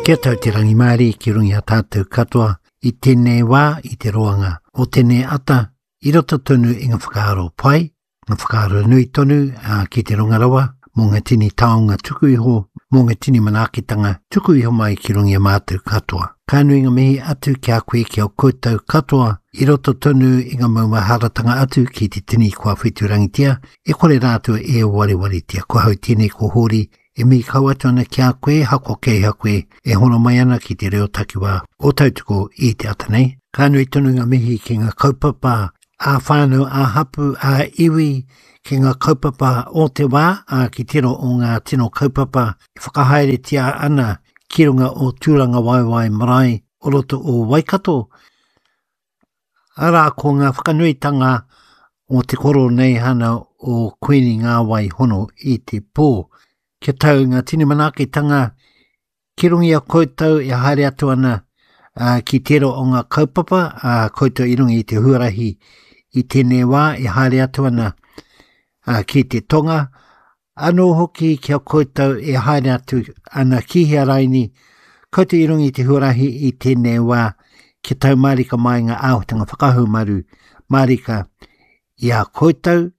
Kia tau te rangimārie ki runga i a tātou katoa i tēnei wā, i te roanga o tēnei ata, i roto tonu i ngā whakaaro pai, ngā whakaaro nui tonu ā, ki te runga rawa, mō ngā tini taonga tuku iho, mō ngā tini manaakitanga tuku iho mai ki runga i a mātou katoa. Ka nui ngā mihi atu ki a koe, ki a koutou katoa, i roto tonu i ngā maumaharatanga atu ki te tini kua wheturangitia, e kore rātou e warewaretia. Ko hau tēnei ko Hōri E mihi kau atu ana ki a koe, hako kei ha koe, e hono mai ana ki te reo takiwā o Tautoko i te ata nei. Ka nui tonu ngā mihi ki ngā kaupapa ā-whānau, ā-hapū, ā-iwi, ki ngā kaupapa o te wā, ā, ki tērā o ngā tino kaupapa e whakahaeretia ana ki runga o Tūrangawaewae Marae o roto o Waikato. Arā, ko ngā whakanuitanga o te Koroneihana o Kuini Ngāwai Hono i te pō. Kia tau ngā tini manaakitanga ki runga i a koutou e haere atu ana ki tērā o ngā kaupapa, ā, koutou i runga i te huarahi i tēnei wā e haere atu ana ki te tonga, Anō hoki ki a koutou e haere atu ana ki hea raini, koutou i runga i te huarahi i tēnei wā, kia tau mārika mai ngā āhuatanga whakahaumaru mārika i a koutou,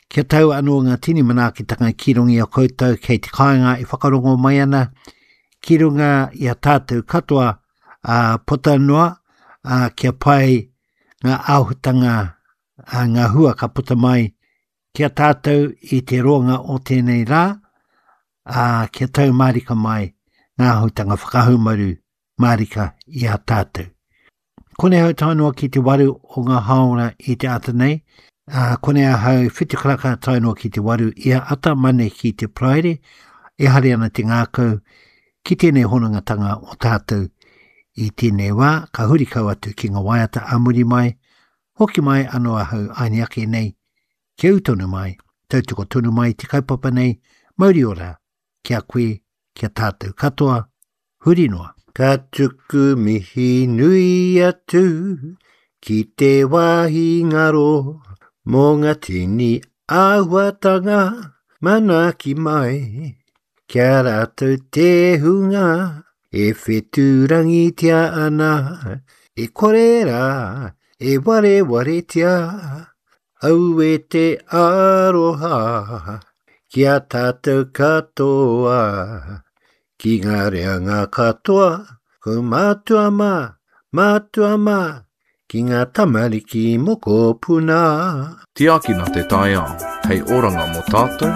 kia tau anō ngā tini manaakitanga ki runga i a koutou kei te kāinga e whakarongo mai ana, ki runga i a tātou katoa, ā, puta noa, ā, kia pai ngā āhuatanga, ā, ngā hua ka puta mai Ki a tātou i te roanga o tēnei rā, ā, kia tau mārika mai ngā āhuatanga whakahaumaru mārika i a tātou. Konei ahau tae noa ki te waru o ngā hāora i te ata nei, ā, konei ahau whitu karaka tae noa ki te waru ia ata mane ki te Paraire, e haere ana te ngākau ki tēnei honongatanga o tātou i tēnei wā, ka huri kau atu ki ngā waiata ā muri mai, Hoki mai ano ahau aini ake nei, kia u tonu mai, tautoko tonu mai te kaupapa nei, mauri ora ki a koe, ki a tatou katoa, huri noa. Ka tuku mihi nui atu ki te wāhi ngaro mō ngā tini āhuatanga manaaki mai. Ki a rātou te hunga e whetūrangitia ana, e kore rā e warewaretia, aue te aroha ki a tātou katoa, ki ngā reanga katoa, ko mātua mā, mātua mā, ki ngā tamariki mokopuna. Tiakina te taiao, hei oranga mō tātou.